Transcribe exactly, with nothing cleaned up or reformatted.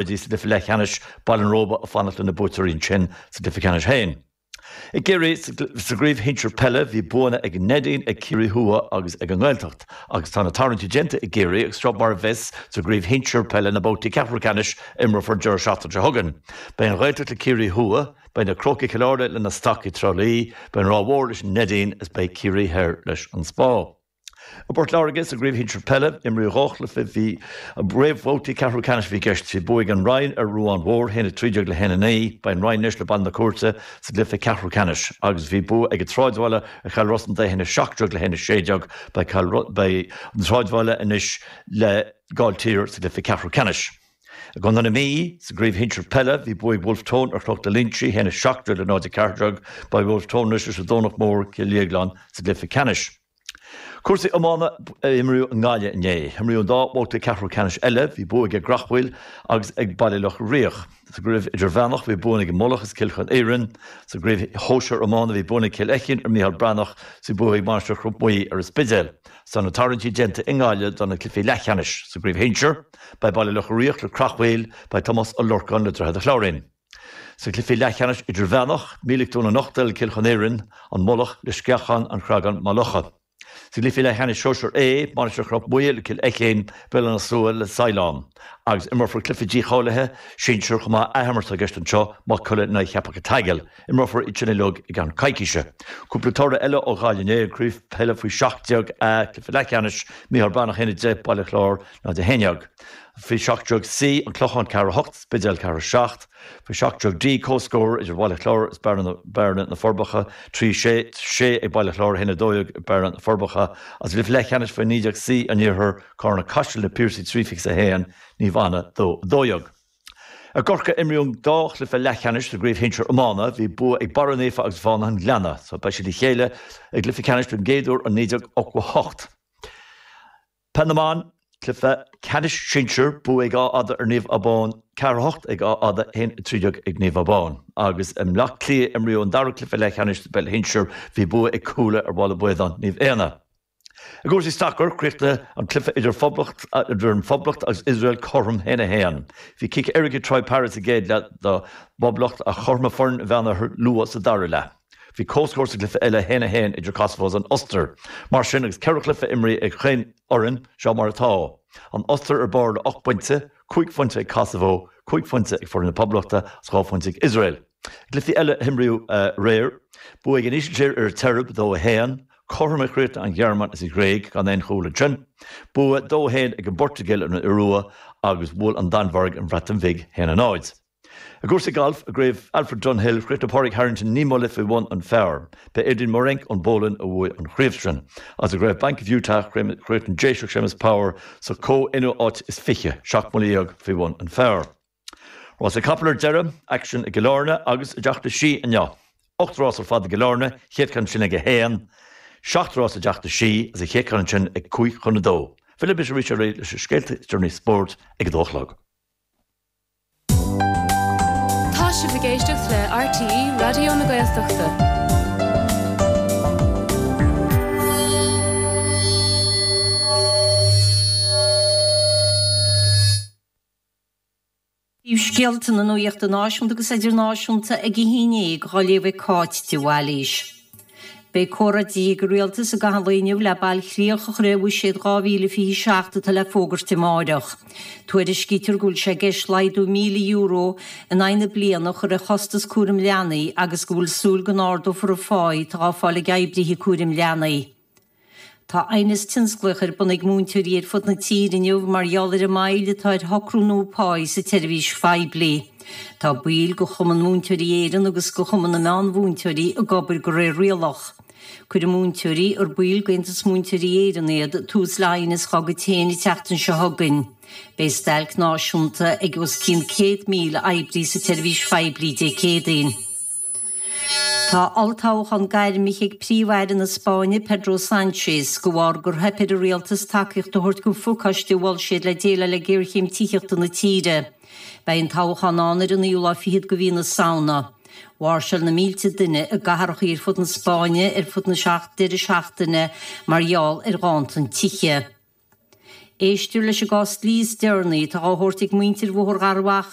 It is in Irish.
dtí sa gcluiche leathcheannais, Baile an Róba ag fanacht lena buaiteoirí ansin sa gcluiche ceannais féin. I gCiarraí, sa gcraobh shinsir peile, bhí buanna ag an Neidín, ag Ciarraí Thuaidh agus ag an nGaeltacht. Agus tá na tarraingtí déanta i gCiarraí agus seo mar a bheas sa gcraobh shinsir peile na babhtaí ceathrú ceannais a imreofar an deireadh seachtaine seo chugainn. Beidh an Ghaeltacht le Ciarraí Thuaidh, beidh na Crócaigh Chill Airne le na Stacaigh Trá Lí, beidh an Ráth Mhór leis an Neidín is beidh Ciarraí Thoir leis an Spá. I bPort Láirge, sa gcraobh shinsir peile, imríodh dhá chluiche, bhí réamhbhabhtaí ceathrú ceannais a bhí i gceist. Bhí bua ag an Rinn ar Ruán Mhór, a haon a trí déag le haon a naoi. Beidh an Rinn anois le Baile na Cúirte sa gcluiche ceathrú ceannais. Agus bhí bua ag an tSráidbhaile ar Chill Rosna a haon a seacht déag le haon a sé déag. Beidh Beidh an tSráidbhaile anois le Gailltír sa gcluiche ceathrú ceannais. I gContae na Mí, sa gcraobh shinsir peile, bhí bua ag Wolfe Tone ar Chnoc na Loingsí, a haon a seacht déag le náid a ceathair déag. Beidh Wolfe Tone anois leis an Domhnach Mór, Cill Dhéagláin sa gcluiche ceannais. Cúrsaí iomána a imríodh i nGaillimh inné. Imríodh an dá bhabhta ceathrú ceannais eile, bhí bua ag an gCreachmhaoil agus ag Baile Locha Riach. Sa gcraobh idirmheánach bhí buanna ag an Mullach is Cill Chonaorain. Sa gcraobh shóisir iomána bhí buanna ag Cill Fheichín ar Micheál Breathnach is bhí bua ag Mainistir Chnoc Muaidhe ar an Spidéal. Is tá na tarraingtí déanta i nGaillimh do na cluichí leathcheannais. Sa gcraobh shinsir, beidh Baile Locha Riach le Creachmhaoil, beidh Tomás Ó Lorcáin le Droichead a' Chláirín. Sa chluiche leathcheannais idirmheánach, Mílic Dún an Uchtail le Cill Chonaorain, An Mullach le Sceachán an Chreagáin Maigh Locha. Sa gcluiche leathcheannais sóisir A, Mainistir Chnoc Muaidhe le Cill Fheichín, Béal Átha na Slua le Saighleán. Agus imreofar cluiche dícháilithe sinsir chomh maith, athimirt i gceist anseo, Maigh Cuilinn in aghaidh Cheapach an tSaigil. Imreofar iad sin uilig i gceann coicíse. Cúpla toradh eile ó Ghaillimh inné, an Craobh Peile faoi seacht déag A, cluiche leathcheannais, Micheál Breathnach a haon a deich, Baile Chláir náid a haon déag. Faoi seacht déag C, An Clochán ceathair a hocht, Spidéal ceathair a seacht. Faoi seacht déag D, comhscór idir Baile Chláir is Bearna, Bearna na Forbacha, trí sé, sé ag Baile Chláir, a haon a dó dhéag ag Bearna na Forbacha. Agus i gcluiche leathcheannais faoi naoi déag C an Iarthair, Carna Caiseal na Piarsaigh trí fiche is a haon, Naomh Anna dó a dó dhéag. I gCorcaigh imríodh an dá chluiche leathcheannais sa gcraobh shinsir iomána. Bhí bua ag Barra Naofa agus Fánaithe an Ghleanna, so beidh siad le chéile i gcluiche ceannais don gcéad uair ó naoi déag ochtó a hocht. Peil na mBan, Cluiche ceannais sinsir, bua ag Áth Fhada ar Naomh Abán, ceathair a hocht ag Áth Fhada, a haon a trí déag ag Naomh Abán. Agus i mBleá Cliath imríodh an dara cluiche leathcheannais sa bpeil shinsir, bhí bua ag Cuala ar Bhaile Baodáin, Naomh Éanna. I gcúrsaí sacair, chríochnaigh an cluiche idir Phoblacht idir an Phoblacht agus Iosrael cothrom a haon a haon. Bhí cic éirice ag Troy Parrott sa gcéad leath don bPoblacht ach chothromaigh foireann an Mheánoirthir luath sa dara leath. Bhí comhscór sa gcluiche eile, a haon a haon, idir Kosovo is an Ostair. Mar sin, agus ceithre chluiche imrithe ag chaon fhoireann, seo mar atá, An Ostair ar barr le ocht bpointe, cúig phointe ag Kosovo, cúig phointe ag foireann na Poblachta agus dhá phointe ag Iosrael. I gcluichí eile a himríodh aréir, bua ag an Ísiltír ar an tSeirbia, dó a haon, cothrom a chríochnaigh an Ghearmáin is an Ghréig, gan aon chúl ansin, bua dó a haon ag an bPortaingéil ar an Iorua agus bhuail an Danmhairg an Bhreatain Bhig, a haon a náid. I gcúrsaí gailf, i gcraobh Alfred Dunhill, chríochnaigh Pádraig Harrington naoi mbuille faoi bhun an phar. B'é Adrian Meronk ón bPolainn a bhuaigh an chraobh sin. Agus i gcraobh Bank of Utah, chríochnaigh an Déiseach Séamus Power sa chomh-aonú áit is fiche, seacht mbuille dhéag faoi bhun an phar. Rásaí capall ar deireadh, aicsean i gCill Airne agus i dTeach na Sí inniu. Ocht rás ar fad i gCill Airne, chéad cheann sin ag a haon, seacht rás i dTeach na Sí agus an chéad cheann ansin ag cúig chun a dó. Fillfidh mise arís oraibh leis na scéalta is deireanaí spóirt ag a dó a chlog. Tá sibh ag éisteacht le RTÉ Raidió na Gaeltachta. Scéalta na nuachta náisiúnta agus idirnáisiúnta ag a haon déag á léamh ag Cáit de Bhailís. Beidh comhráití ag an Rialtas i gcaitheamh an lae inniu le bailchríoch a chur ar Bhuiséad dhá mhíle fiche seacht atá le fógairt amáireach. Tuairiscítear go bhfuil sé i gceist laghdú míle euro in aghaidh na bliana a chur ar chostas cúraim leanaí agus go bhfuil súil go n-ardófar an phá atá á fáil ag oibrithe cúraim leanaí. Tá aighneas tionsclaíoch ar bun ag múinteoirí ar fud na tíre inniu mar gheall ar an moill atá ar shocrú nua páí sa tseirbhís phoiblí. Tá baill de Chumann Múinteoirí Éireann agus de Chumann na Meánmhúinteoirí ag obair de réir rialach. Cuirfidh múinteoirí, ar baill d'Aontas Múinteoirí Éireann iad, tús le haighneas dá gcuid féin an tseachtain seo chugainn. Beidh stailc náisiúnta ag os cionn céad míle oibrí sa tseirbhís phoiblí Dé Céadaoin. Tá olltoghchán gairmithe ag Príomh-Aire na Spáinne, Pedro Sánchez, de bharr gur theip ar an rialtas tacaíocht a thabhairt don phacáiste a mhol siad le déileáil le géarchéim tithíochta na tíre. Beidh an toghchán ann ar an naoú lá fichead de mhí na Samhna. Mháirseáil na mílte duine i gcathracha ar fud na Spáinne ar fud na deireadh seachtaine mar gheall ar ghanntan tithe. Éistear leis an gcás dlí is deireanaí atá á thabhairt ag muintir Bhóthar Gharbhachaidh